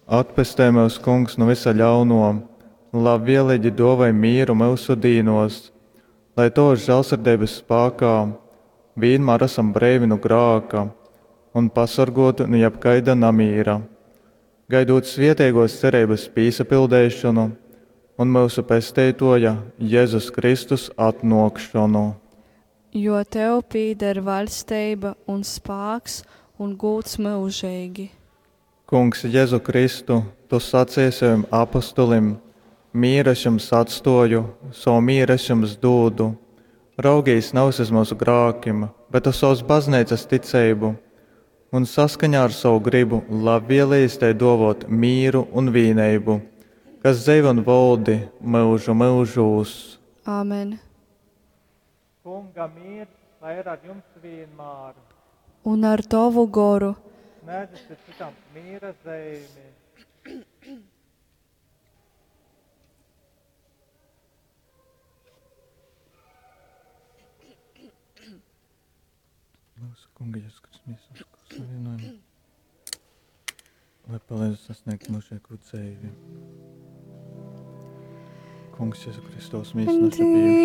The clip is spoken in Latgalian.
Atpestej myus, Kungs, nu vysa ļaunuo, labvieleigi duovoj mīru myusu dīnuos, lai Tovys žālsirdeibys spākā vīnmār asam breivi nu grāka un pasorguoti nu jebkaida namīra, gaidūt svieteiguos cereibys pīsapildeišonu un myusu Pesteituoja Jezus Kristus atnuokšonu. Jo tev pīder vaļsteiba un spāks un gūds myužeigi. Kungs Jezu Kristu, Tu saceji sovim apostolim, Mīru es jums atstōju, sovu mīru es jums dūdu. Raugīs navys uz myusu grākim, bet uz sovas Bazneicas ticeibu, un saskaņā ar sovu grybu labvieleigi tai dōvōt mīru un vīneibu, kas dzeivoj un voldi myužu myužūs. Āmen. Kunga mīrs lai ir ar jums vienmēr. Un ar tovu goru. Sniedzit citam mīra zeimi. Mūsu Kunga Jēzus Kristus miesas savienojumu, lai palīdz sasniegt mūžīgo dzīvi. Kungs Jēzu Kristus mīsas naša pieņemšana.